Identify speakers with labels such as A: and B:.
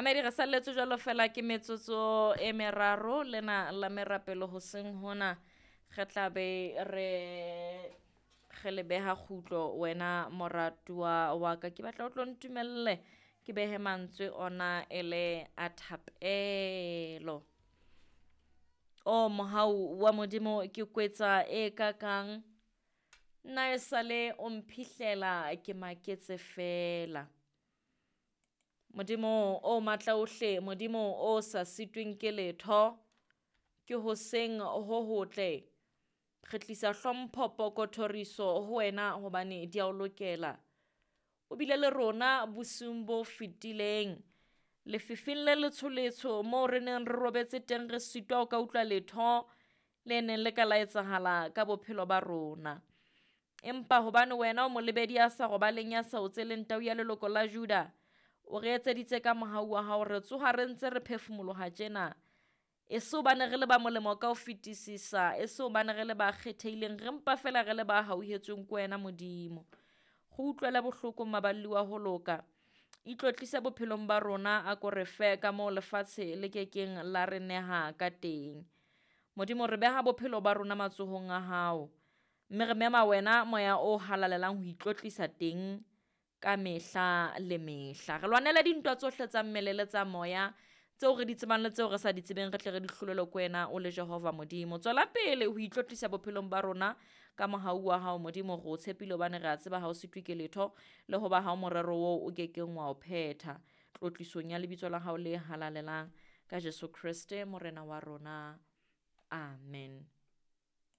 A: Mamedi re salletswe jwalo fela ke metsotso e meraro lena la merapelo hoseng hona re tla be re re le beha kgutlo wena moratuwa wa ka. Ke batla o tlo ntumelle ke behe mantswe ona e le a thapelo. O mohau wa Modimo ke kwetsa e kakang nna esale o mphihlela ke maketse fela. Modimo o matla ohle, Modimo o sa sitweng ke letho, ke hoseng ho hotle. Re tlisa hlompho, poko, thoriso ho wena hobane di a o lokela. O bile le rona bosiung bo fetileng. Lefifing le letsho-letsho moo re neng re robetse teng re sitwa ho ka utlwa letho le neng le ka la etsahala ka bophelo ba rona. Empa hobane wena o molebedi ya sa robaleng ya sa otseleng tau ya leloko la Juda, o re etseditse ka mohau wa hao, re tsoha re ntse re phefumoloha tjena. E se hobane re le ba molemo ka ho fetisisa, e se hobane re le ba kgethehileng, re mpa fela re le ba hauhetsweng ke wena Modimo. Re utlwele bohloko maballi wa ho loka. Itlotlise bophelong ba rona, a ko re fe ka moo lefatshe le kekeng la re neha ka teng. Modimo re beha bophelo ba rona matsohong a hao, mme re mema wena moya o halalelang ho itlotlisa teng ka mehla le mehla. Re lwanele dintwa tsohle tsa mmele le tsa moya tseo re di tsebang le tseo re sa di tsebeng, re tle re di hlolelwe ke wena o le Jehova Modimo. Tswela pele ho itlotlisa bophelong ba rona ka mohau wa hao Modimo, re o tshepile hobane re a tseba ha o sitwe ke letho le hoba ha o morero oo o kekeng wa o phetha. Tlotlisong ya lebitso la hao le halalelang ka Jesu Kreste Morena wa rona. Amen.